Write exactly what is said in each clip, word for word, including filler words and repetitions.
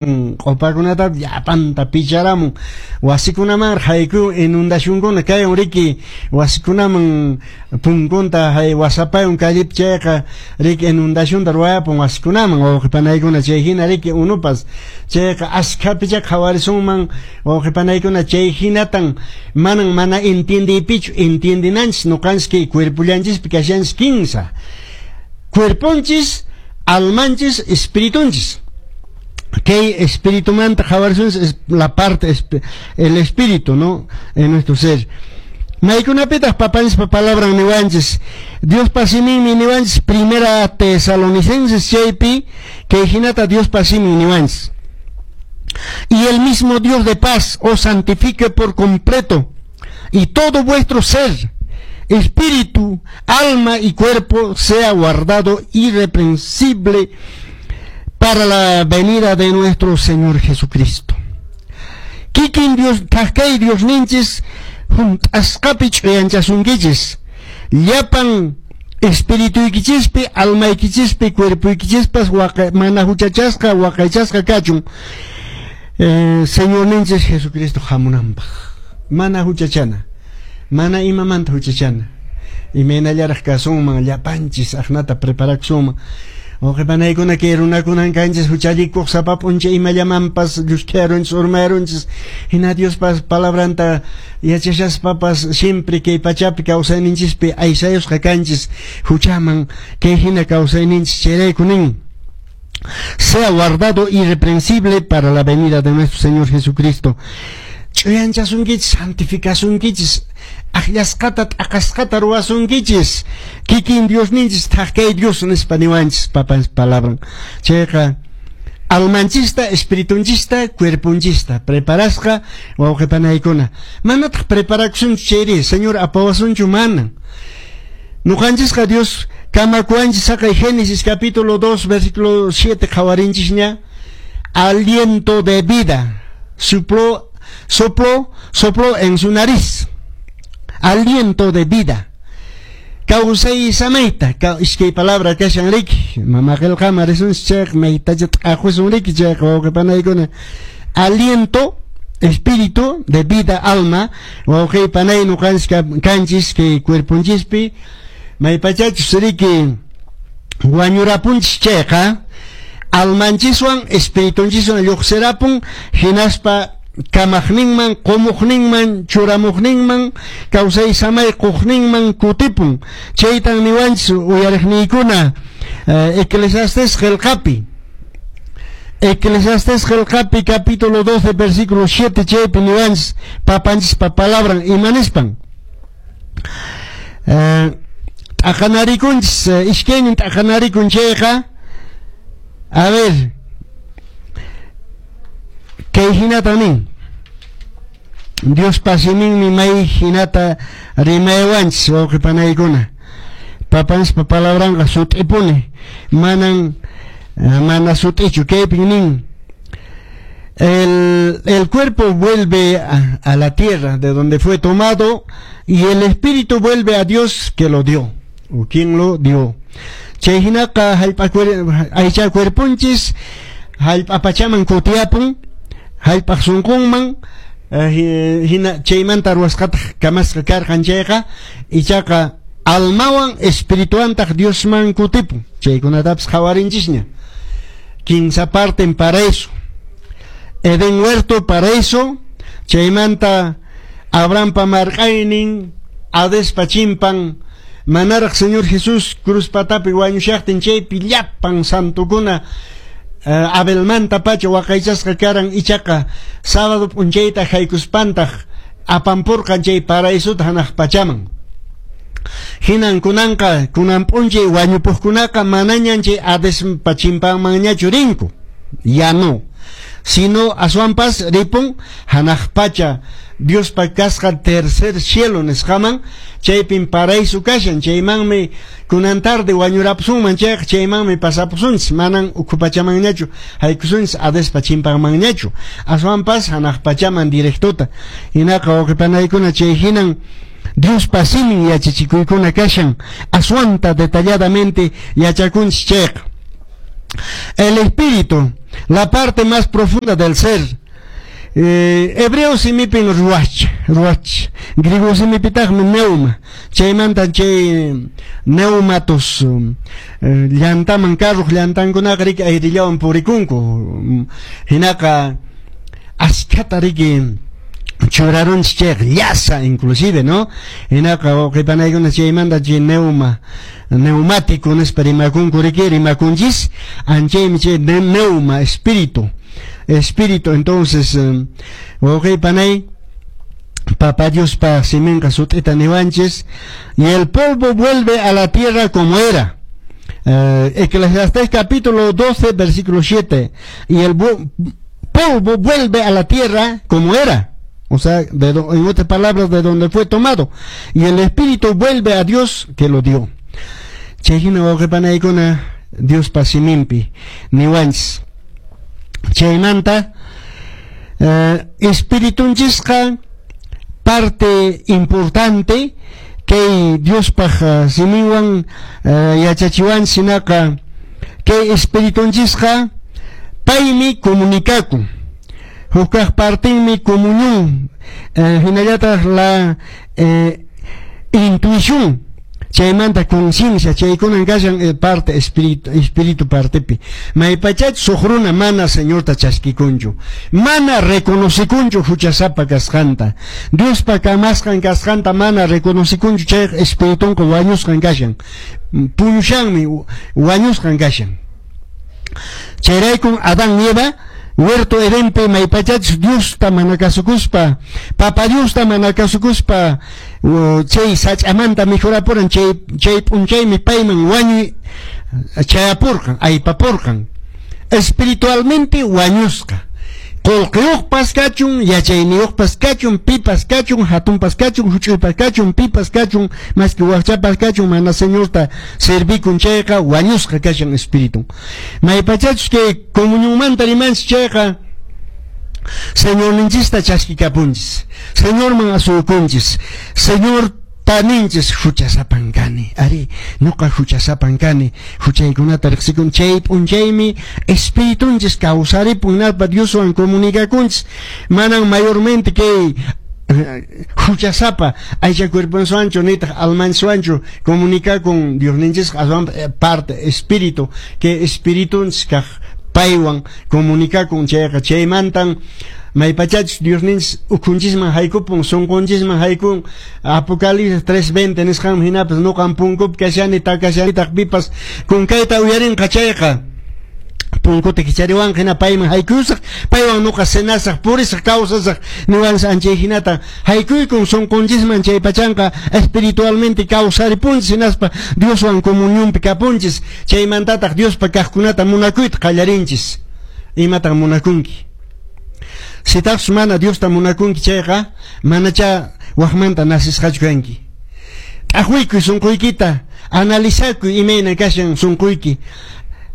Q'upakunata llapanta picharamun, wasikunaman haykun, inundacionkuna kayan riki, wasikunaman punkunta hay wasapayun callepi, chayqa riki inundacionta ruwayapun wasikunaman, wawqipanaykuna. Chay hina riki unupas chayqa askhapicha qhawarisunman, wawqipanaykuna. Chay hinatan manan mana entiendeypichu entiendinanchis nuqanchis kay cuerpollanchispi kashanchis kinsa cuerponchis, almanchis, espiritunchis. Kay espiritumanta qhawarisunchis, es la parte, el espíritu, ¿no?, en nuestro ser. Maykunapitaq papanchispa palabran niwanchis? Diospa siminmi niwanchis Primera Tesalonicenses chaypi, kay hinata Diospa simin niwanchis: "Y el mismo Dios de paz os santifique por completo, y todo vuestro ser, espíritu, alma y cuerpo sea guardado irreprensible para la venida de nuestro Señor Jesucristo". Kikin Dios, thak Dios ninchis, hunt'asqapi ch'uyanchasunkichis, llapan espirituykichispi, almaykichispi, cuerpoykichispas mana huchachasqa, waqaychasqa kachun eh, Señor ninchis Jesucristo hamunanpaq. Mana huchachana, mana imamanta huchachana. Imaynallaraq kasunman llapanchis aqnata preparakusunman. Wawqipanaykuna, kay runakunan kanchis huchallikuq, sapa p'unchay imallamanpas llusk'ayarunchis, urmayarunchis. Hina Diospas palabranta yachashaspapas siempre kay pachapi kawsayninchispi aysayusqa kanchis huchaman, kay hina kawsayninchis. Chayrayku nin: "Sea guardado irreprensible para la venida de nuestro Señor Jesucristo". Ch'uyanchasunkichis, santificasunkichis, akllasqata t'aqasqata ruwasunkichis kikin Diosninchis, thak kay Dios nispa niwanchis papanchis palabran. Chayqa almanchista, espiritunchista, cuerpunchista preparasqa, wawqipanaykuna. Manataq preparakusunchu chayri, Señor apawasunchu? Manan. Nuqanchisqa Dios kamakuwanchis saqay Génesis capítulo dos versículo siete qhawarinchisña, aliento de vida sopló, sopló, sopló en su nariz, aliento de vida, kawsay samayta. Iskay palabra kashan riki, mama qillqaman risunchis chayqa maytacha t'aqwisun riki chayqa, wawqipanaykuna. Aliento, espíritu de vida, alma. Wawqi panay, nuqanchis kanchis kay cuerponchispi maypachachus riki wañurapunchis chayqa almanchiswan espiritunchiswan lluqsirapun, hinaspa kamaqninman, qumuqninman, churamuqninman, kawsay samay quqninman kutipun. Chaytan niwanchis, uyariqniykuna, eh, Eclesiastes qillqapi, Eclesiastes qillqapi capítulo doce versículo siete, chaypi niwanchis papanchispa palabran imanispan. eh, t'aqanarikunchis, eh, iskaynin t'aqanarikun chayqa, a ver, kay hinata nin Diospa siminmi, may hinata rimaywanchis, wawqipanaykuna. Papanchispa palabranqa sut'ipuni, manan mana sut'ichu. Kaypin nin: el, el cuerpo vuelve a, a la tierra de donde fue tomado y el espíritu vuelve a Dios que lo dio o quien lo dio. Chay hinaqa hallp'a aycha cuerponchis hallp'a pachaman kutiyapun, hallp'aq sunqunman, hina chaymanta ruwasqataq kamasqa karqan chayqa, ichaqa almawan espirituantaq Diosman kutipun. Chaykunatapas qhawarinchisña. Kinsa parten paraíso, Edén huerto, paraíso, chaymanta Abrahampa marq'aynin, Hadespa chimpan, manaraq Señor Jesús cruz patapi wañushaqtin, chaypi llapan santukuna uh, Abelmanta pacha waqaychasqa karan. Ichaqa sábado p'unchayta haykuspantaq apampurqan chay paraísota hanaq pachaman. Hinan kunanqa kunan p'unchay wañupuqkunaqa manañan chay Hadespa chimpanmanñachu rinku, ya no, sino aswanpas ripun hanaq pacha Diospa kasqa tercer cielo nisqaman, chaypin paraíso kashan. Chaymanmi kunan tarde wañurapusunman chayqa chaymanmi pasapusunchis, manan ukhu pachamanñachu haykusunchis, Hadespa chimpanmanñachu, aswanpas hanaq pachaman directota. Hinaqa, wawqipanaykuna, chay hinan Diospa simin yachachikuykuna kashan, aswanta detalladamente yachakunchis chayqa. El espíritu La parte más profunda del ser. Eh, hebreo simipin ruach, ruach. Griego simipitaqmi neuma. Chaymanta chay neumatos eh, llantaman carruq llantankunaqa riki ayrillawan purikunku. Hinaqa askhata riki churarunchik chayqa llasa inclusive, ¿no? Hinaqa wawqipanaykuna chaymanta chay neuma neumático nispa rimakunku riki rimakunchis anchaymi chay neuma espíritu. Espíritu, entonces, wawqipanay, Papá Dios pa siminqa sut'ita niwanchis, y el polvo vuelve a la tierra como era. Eh, Eclesiastés capítulo doce, versículo siete. Y el polvo vuelve a la tierra como era. O sea, de do, en otras palabras, de donde fue tomado. Y el espíritu vuelve a Dios que lo dio. Chayhina wawqipanaykuna Dios pa siminpi niwanchis. Chaymanta eh, espiritunchisqa parte importante kay Diospaq uh, siminwan uh, yachachiwanchis hinaqa kay espiritunchisqa paymi comunicakun hukaq partinmi comunión eh, hinallataq la eh, intuición chaymanta conciencia chaykunan kashan eh, parte espíritu espíritu partepi maypachach huk runa mana Señorta chaskikunchu mana reconocikunchu huchasapa kasqanta Diospa kamasqan kasqanta mana reconocikunchu chay espiritunqa wañusqan kashan puñushanmi wañusqan kashan chayraykun Adán y Eva huerto Edenpi maypachach Diosta mana kasukuspa Papa Diosta mana kasukuspa chay sach'amanta mikhurapuran chay chay p'unchaymi payman wañuy chayapurqan aypapurqan espiritualmente wañusqa qullqiyuqpas kachun yachayniyuqpas kachun pipas kachun hatunpas kachun huch'uypas kachun pipas kachun maski wakchapas kachun mana Señorta servikun chayqa wañusqa kashan espíritu maypachachus kay comunionmanta rimanchis chayqa Señorninchista chaskikapunchis Señorman asuykunchis Señor taninchis huchasapan kani ari ñuqa huchasapan kani huchaykunata riqsikun chay p'unchaymi espiritunchis kawsaripun hinaspa Dioswan comunicakunchis manan mayormente kay huchasapa aycha cuerponsuanchu nitaq almansuanchu comunicakun Diosninchis aswan parte espíritu que espiritunchis kaq paywan comunicakun chayqa chaymantan maypachachus Diosninchis ukhunchisman haykupun sunqunchisman haykun Apocalipsis tres veinte nisqanman hinapas nuqan punkupi kashani takashanitaq pipas kunkayta uyarinqa chayqa punkuta kichariwanqa hina payman haykuyusaq paywan nuqa cenasaq purisaq kawsasaq niwanchis anchay hinata haykuykun sunqunchisman chay pachanqa espiritualmente kawsaripunchis hinaspa Dioswan comunionpi kapunchis chaymantataq Diospa kaqkunata munakuyta qallarinchis imatan munakunki sitaqchus mana Diosta munakunki chayqa manacha waqmanta nasisqachu kanki t'aqwikuy sunquykita analizakuy imayna kashan sunquyki.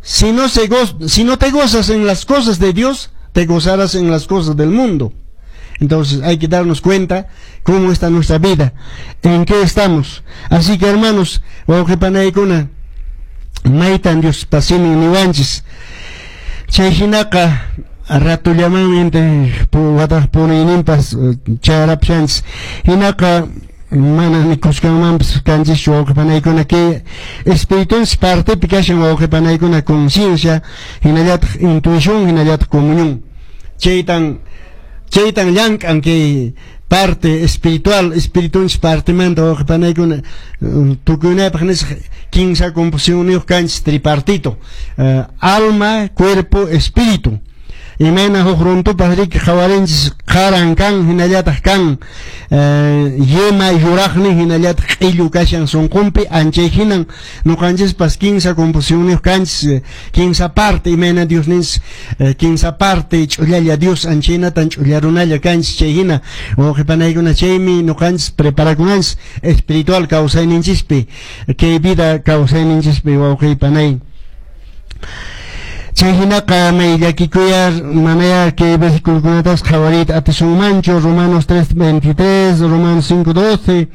Si no, se go si no te gozas en las cosas de Dios, te gozarás en las cosas del mundo. Entonces hay que darnos cuenta cómo está nuestra vida, en qué estamos. Así que hermanos, wawqipanaykuna, maytan Dios pasimin niwanchis. Chay hinaqa ratullamanmi wataq punayninpas charapshanchis. Hinaqa mana nikusqanmanpas kanchischu wawqipanaykuna kay espiritunchis partepi kashan wawqipanaykuna conciencia hinallataq intuición hinallataq comunión. Chaytan chaytan llank'an kay parte espiritual espiritunchis partemanta wawqipanaykuna tukuynaypaq nisqa kinsa composiciónniyuq kanchis tripartito uh, alma, cuerpo, espíritu. Imayna huk runtupas riki qhawarinchis qaran kan hinallataq kan eh, yema yuraqni hinallataq q'illu kashan sunqunpi anchay hinan nuqanchispas kinsa composiciónniyuq kanchis kinsa parte imayna Diosninchis eh, kinsa parte ch'ullalla Dios anchaynatan ch'ulla runalla kanchis chay hina wawqipanaykuna chaymi nuqanchis preparakunanchis espiritual kawsayninchispi kay vida kawsayninchispi wawqipanay. Chay hinaqa may llakikuyar manaya kay versículokunatas qhawariyta atisunmanchu Romanos tres veintitrés, Romanos cinco doce,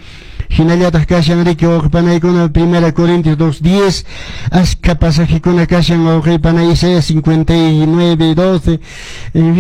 Hinallataq kashan riki wawqipanaykuna Primera Corintios dos diez, askha pasajekuna kashan wawqipanay, Isaías cincuenta y nueve doce, en fin.